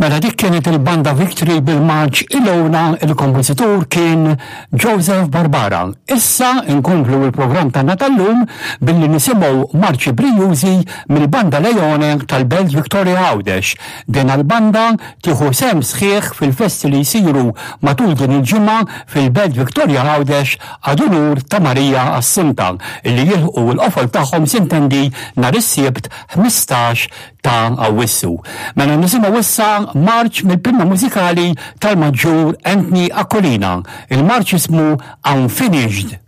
Mela dik kienet il-banda Victory bil-marċ Ilona, il-kompożitur kien Joseph Barbara. Issa nkomplu l-programm tagħna tal-lum billi nisimgħu marċi brijużi mill-banda Leone tal-Belt Victoria Għawdex. Din l-banda tieħu sehem sħiħ fil-festi li jsiru matul din il-ġimgħa fil-Belt Victoria Għawdex ad unur ta' Marija Assunta illi jilħqu l-qofol tagħhom sintendi nhar is-Sibt 15 ta' Awwissu. Mela nisimgħu issa marċ mill-pinna mużikali tal-Maġġur Anthony Aquilina. Il-marċ ismu Unfinished.